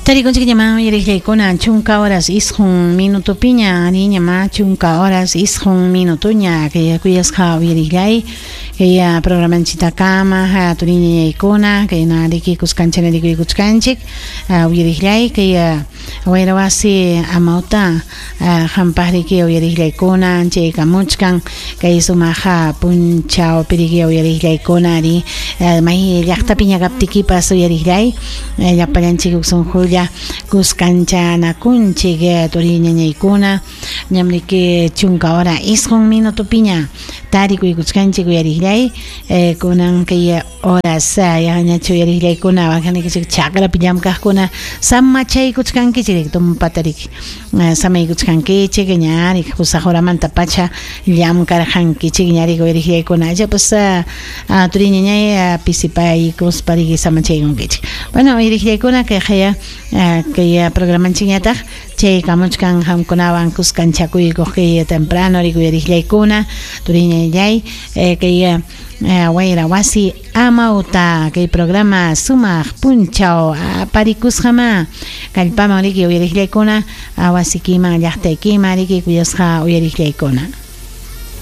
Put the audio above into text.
Tarikunchikñamá uyariqllaykuna 10 horas 9 minutopiña, ariñamá 10 horas 9 minutoña kay kuyasqa uyariqllay kay programanchitakama turiñañaykuna kayna riki kuskanchana rikuykuchkanchik uyariqllay kay wayra wasi amawta qampaq riki uyariqllaykuna chaykamuchkan kay sumaq punchawpi riki uyariqllaykuna ari may llaqtapiña kaptikipas uyariqllay llapallanchik huk sunqulla kuskanchanakunchik turiñañaykuna ñam riki 10 hora 9 minutopiña tarikuykuchkanchik uyariqllay kunan kay horas yaqañachu uyariqllaykuna waqanikichik chakrapi llamkaqkuna samachaykuchkankichik tumpata riki samaykuchkankichik ña riki 8 horamanta pacha llamkarqankichik ña riki uyariqllaykuna ichapas turiñañay pisipaykuspa riki samachaykunkichik. Bueno, uyariqllaykuna kayqaya kay programanchikñataq chaykamuchkan qamkunawan kuskanchakuykuq kay temprano riki uyariqllaykuna turiñañay kay wayra wasi amawta kay programa sumaq punchaw aparikusqamá kallpaman riki uyariqllaykuna wasikiman llaqtaykiman riki kuyasqa uyariqllaykuna.